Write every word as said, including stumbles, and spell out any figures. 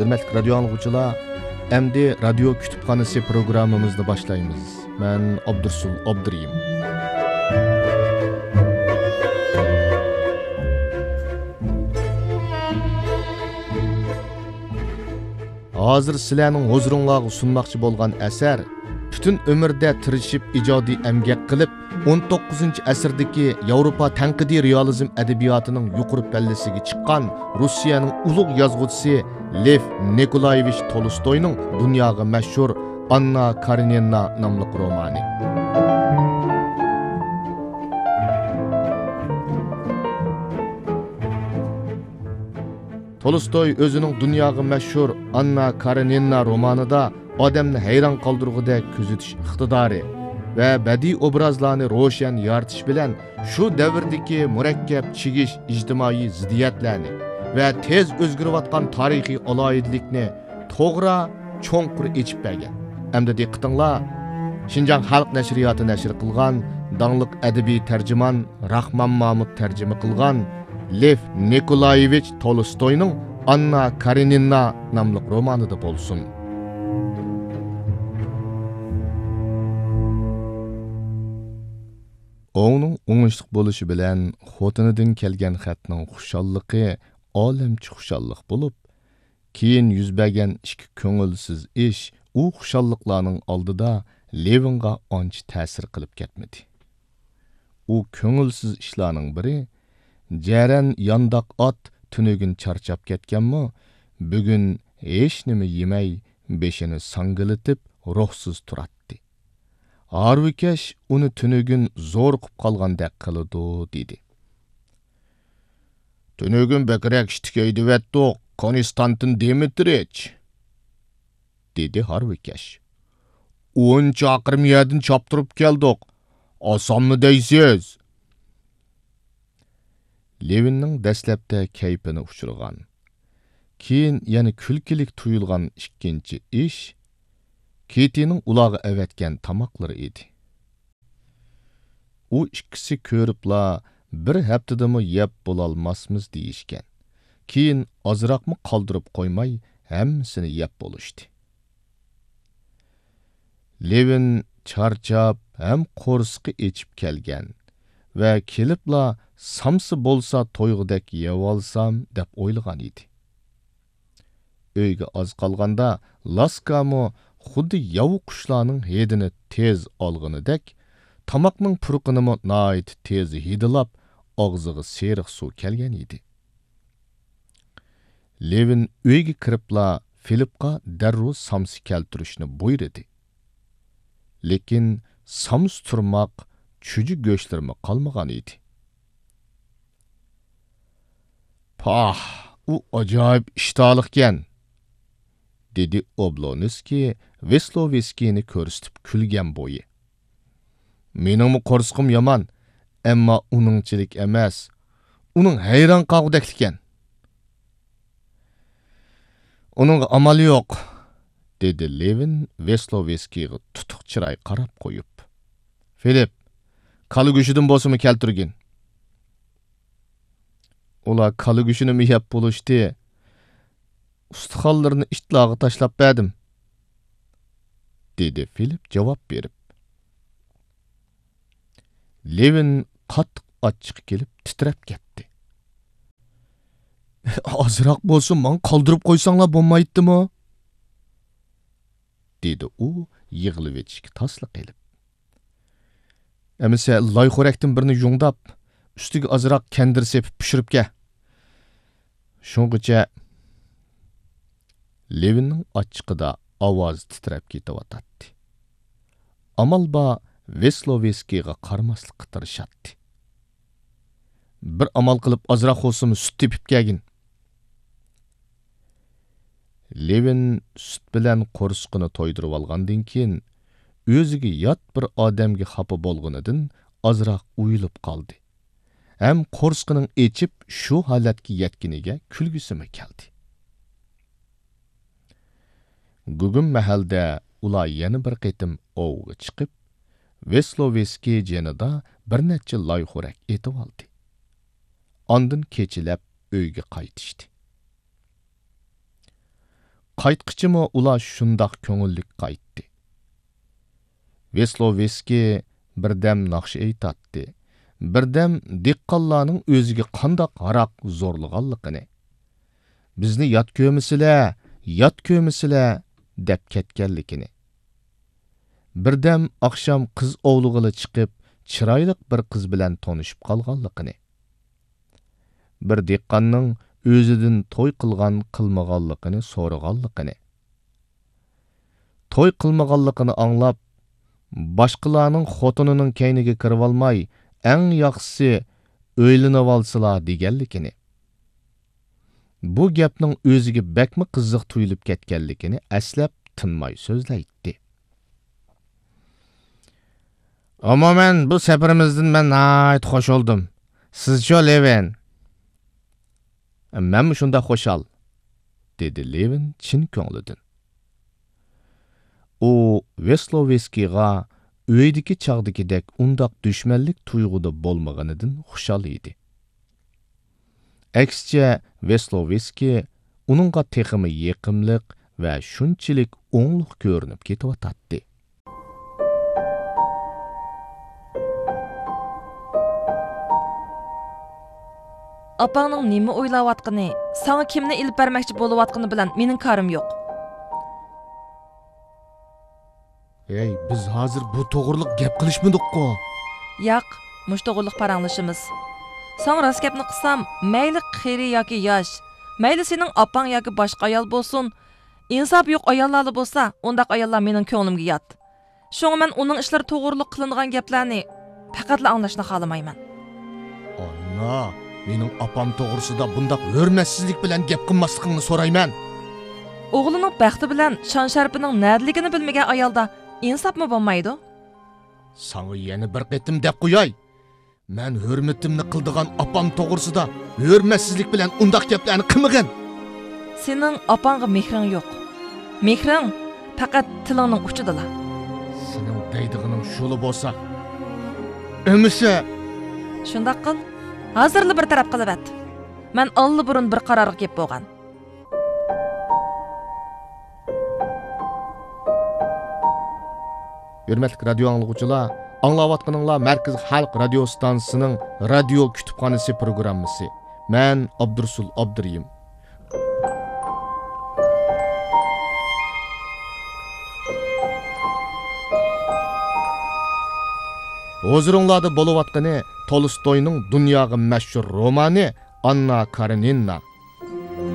ھۆرمەتلىك رادىيو ئاڭلىغۇچىلار، ئەمدى رادىيو كۇتۇپخانىسى پروگراممىمىزنى باشلايمىز. مەن ئابدۇرسۇل ئابدۇرېھىم. ھازىر سىلەرنىڭ ھۇزۇرۇڭلارغا سۇنماقچى بولغان ئەسەر، پۈتۈن ئۆمرىدە تىرىشىپ ئىجادىي ئەمگەك قىلىپ، ئون توققۇزىنچى ئەسىردىكى ياۋروپا تەنقىدىي رېئالىزم ئەدەبىياتىنىڭ يۇقىرى پەللىسىگە چىققان روسىيەنىڭ ئۇلۇغ يازغۇچىسى لېف نىكولايېۋىچ تولستوينىڭ دۇنياغا مەشھۇر ئاننا كارېنىنا ناملىق رومانى. تولستوي ئۆزىنىڭ دۇنياغا مەشھۇر ئاننا كارېنىنا رومانىدا ئادەمنى ھەيران قالدۇرغۇدەك كۆزىتىش ئىقتىدارى ۋە بەدىئىي ئوبرازلارنى روشەن يارىتىش بىلەن شۇ دەۋردىكى مۇرەككەپ چىگىش ئىجتىمائىي زىددىيەتلەرنى ۋە تېز ئۆزگىرىۋاتقان تارىخىي ئالاھىدىلىكنى توغرا، چوڭقۇر ئېچىپ بەرگەن. ئەمدى دىققىتىڭلار، شىنجاڭ خەلق نەشرىياتى نەشر قىلغان داڭلىق ئەدەبىي تەرجىمان راخمان مامۇت تەرجىمە قىلغان لېف نىكولايېۋىچ تولستوينىڭ ئاننا كارېنىنا ناملىق رومانىدا بولسۇن. ئوۋنىڭ ئوڭۇشلۇق بولۇشى بىلەن خوتۇنىدىن كەلگەن خەتنىڭ خۇشاللىقى ئالەمچە خۇشاللىق بولۇپ، كېيىن يۈز بەرگەن ئىككى كۆڭۈلسىز ئىش ئۇ خۇشاللىقلارنىڭ ئالدىدا لېۋىنغا ئانچە تەسىر قىلىپ كەتمىدى. ئۇ كۆڭۈلسىز ئىشلارنىڭ بىرى، جەرەن يانداق ئات تۈنۈگۈن چارچاپ كەتكەنمۇ، بۈگۈن ھېچنېمە يېمەي، بېشىنى ساڭگىلىتىپ، روھسىز تۇراتتى. ھارۋىكەش ئۇنى تۈنۈگۈن زورۇقۇپ قالغاندەك قىلىدۇ، دېدى. تۈنۈگۈن بەكرەك ئىتتىك ھەيدىۋەتتۇق، كونستانتىن دىمىترىچ، دېدى ھارۋىكەش. ئون چاقىرىم يەردىن چاپتۇرۇپ كەلدۇق. ئاسانمۇ دەيسىز؟ لېۋىننىڭ دەسلەپتە كەيپىنى ئۇچۇرغان، كېيىن يەنە كۈلكىلىك تۇيۇلغان ئىككىنچى ئىش، كىتىنىڭ ئۇلارغا ئەۋەتكەن تاماقلىرى ئىدى. ئۇ ئىككىسى كۆرۈپلا، بىر ھەپتىدىمۇ يەپ بولالماسمىز دېيىشكەن. كېيىن ئازراقمۇ قالدۇرۇپ قويماي، ھەممىسىنى يەپ بولۇشتى. لېۋىن چارچاپ ھەم قورسىقى ئېچىپ كەلگەن ۋە كېلىپلا سامسا بولسا تويغۇدەك يەۋالسام دەپ ئويلىغان ئىدى. ئۆيگە ئاز قالغاندا لاسكامۇ خۇددى ياۋا قۇشلارنىڭ ھىدىنى تېز ئالغىنىدەك، تاماقنىڭ پۇرىقىنىمۇ ناھايىتى تېز ھىدىلاپ، ئاغزىغا سېرىق سۇ كەلگەن ئىدى. لېۋىن ئۆيگە كىرىپلا فىلىپقا دەررۇ سامسا كەلتۈرۈشنى بۇيرۇدى. لېكىن سامسا تۇرماق، چۈجە گۆشلىرىمۇ قالمىغان ئىدى. پاھ، ئۇ ئاجايىپ ئىشتىھالىقكەن، دېدى ئوبلونسكىي ۋېسلوۋېسكىينى كۆرسىتىپ كۈلگەن بويى. مېنىڭمۇ قورسىقىم يامان، ئەمما ئۇنىڭچىلىك ئەمەس. ئۇنىڭ ھەيران قالغۇدەكلىكەن. ئۇنىڭغا ئامال يوق، دېدى لېۋىن ۋېسلوۋېسكىيغا تۇتۇق چىراي قاراپ قويۇپ. فىلىپ، كالا گۆشىدىن بولسىمۇ كەلتۈرگىن. ئۇلار كالا گۆشىنىمۇ يەپ بولۇشتى. ئۇستىخانلىرىنى ئىتلارغا تاشلاپ بەردىم، دېدى فىلىپ جاۋاب بېرىپ. لېۋىن قاتتىق ئاچچىقى كېلىپ تىترەپ كەتتى. ئازراق بولسا ماڭا قالدۇرۇپ قويساڭلار بولمايتتىمۇ؟ دېدى ئۇ يىغلىۋېتىشكە تاسلا قېلىپ. ئەمىسە لايخورەكتىن بىرنى يۇڭداپ، ئۈستىگە ئازراق كەندىر سېپىپ پىشۇرۇپ كە. شۇڭغىچە لېۋىننىڭ ئاچچىقىدا ئاۋازى تىترەپ كېتىۋاتاتتى. ئامال بار ۋېسلوۋېسكىيغا قارىماسلىققا تىرىشاتتى. بىر ئامال قىلىپ ئازراق بولسىمۇ سۈت تېپىپ كەلگىن. لېۋىن سۈت بىلەن قورسىقىنى تويدۇرۇۋالغاندىن كېيىن، ئۆزىگە يات بىر ئادەمگە خاپا بولغىنىدىن ئازراق ئۇيىلىپ قالدى ھەم قورسىقىنىڭ ئېچىپ شۇ ھالەتكە يەتكىنىگە كۈلگۈسىمۇ كەلدى. گۇگۇم مەھەلدە ئۇلار يەنە بىر قېتىم ئوۋغا چىقىپ، ۋېسلوۋېسكىي جېنىدا بىر نەچچە لايخورەك ئېتىۋالدى. ئاندىن كېچىلەپ ئۆيگە قايتىشتى. قايتقىچىمۇ ئۇلار شۇنداق كۆڭۈللۈك قايتتى. ۋېسلوۋېسكىي بىردەم ناخشا ئېيتاتتى، بىردەم دېھقانلارنىڭ ئۆزىگە قانداق ھاراق زورلىغانلىقىنى، بىزنى يات كۆرمىسىلە، يات كۆرمىسىلە دەپ كەتكەنلىكىنى، بىردەم ئاخشام قىز ئوۋلىغىلى چىقىپ، چىرايلىق بىر قىز بىلەن تونۇشۇپ قالغانلىقىنى، بىر دېھقاننىڭ ئۆزىدىن توي قىلغان قىلمىغانلىقىنى سورىغانلىقىنى، توي قىلمىغانلىقىنى ئاڭلاپ، باشقىلارنىڭ خوتۇنىنىڭ كەينىگە كىرىۋالماي، ئەڭ ياخشىسى ئۆيلىنىۋالسىلا دېگەنلىكىنى، بۇ گەپنىڭ ئۆزىگە بەكمۇ قىزىق تۇيۇلۇپ كەتكەنلىكىنى ئەسلەپ تىنماي سۆزلەيتتى. ئومۇمەن، بۇ سەپىرىمىزدىن مەن ناھايىتى خۇش بولدۇم. سىزچۇ، لېۋىن؟ مەنمۇ شۇنداق خۇشال، دېدى لېۋىن چىن كۆڭلىدىن. ئۇ ۋېسلوۋېسكىيغا ئۆيدىكى چاغدىكىدەك ئۇنداق دۈشمەنلىك تۇيغۇدا بولمىغىنىدىن خۇشال ئىدى. ئەكسىچە، ۋېسلوۋېسكىي ئۇنىڭغا تېخىمۇ يېقىملىق ۋە شۇنچىلىك ئوڭلۇق كۆرۈنۈپ كېتىۋاتاتتى. ئاپاڭنىڭ نېمە ئويلاۋاتقىنى، ساڭا كىمنى ئېلىپ بەرمەكچى بولۇۋاتقىنى بىلەن مېنىڭ كارىم يوق. ھەي، بىز ھازىر بۇ توغرىلىق گەپ قىلىشمىدۇققۇ؟ ياق، مۇشۇ توغرىلىق پاراڭلىشىمىز. ساڭا راست گەپنى قىلسام، مەيلى قېرى ياكى ياش، مەيلى سېنىڭ ئاپاڭ ياكى باشقا ئايال بولسۇن، ئىنساپى يوق ئاياللارلا بولسا، ئۇنداق ئاياللار مېنىڭ كۆڭلۈمگە يات. شۇڭا مەن ئۇنىڭ ئىشلىرى توغرىلىق قىلىنغان گەپلەرنى پەقەتلا ئاڭلاشنى خالىمايمەن. ئانا، مېنىڭ ئاپام توغرىسىدا بۇنداق ھۆرمەتسىزلىك بىلەن گەپ قىلماسلىقىڭنى سورايمەن. ئوغلىنىڭ بەختى بىلەن شان-شەرىپىنىڭ نەدىلىكىنى بىلمىگەن ئايالدا ئىنساپمۇ بولمايدۇ. ساڭا يەنە بىر قېتىم دەپ قوياي. مەن ھۆرمىتىمنى قىلىدىغان ئاپام توغرىسىدا ھۆرمەتسىزلىك بىلەن ئۇنداق گەپلەرنى قىلمىغىن. سېنىڭ ئاپاڭغا مېھرىڭ يوق. مېھرىڭ پەقەت تىلىڭنىڭ ئۇچىدىلا. سېنىڭ دەيدىغىنىڭ شۇلا بولسا، ئەمىسە. شۇنداق قىل، ھازىرلا بىر تەرەپ قىلىۋەت. مەن ئاللىبۇرۇن بىر قارارغا كېلىپ بولغان. ھۆرمەتلىك رادىيو ئاڭلىغۇچىلار، ئاڭلاۋاتقىنىڭلار مەركىزىي خەلق رادىيو ئىستانسىسىنىڭ رادىيو كۇتۇپخانىسى پروگراممىسى. مەن ئابدۇرۇسۇل ئابدۇرېھىم. ھۇزۇرۇڭلاردا بولۇۋاتقىنى تولستوينىڭ دۇنياغا مەشھۇر رومانى ئاننا كارېنىنا.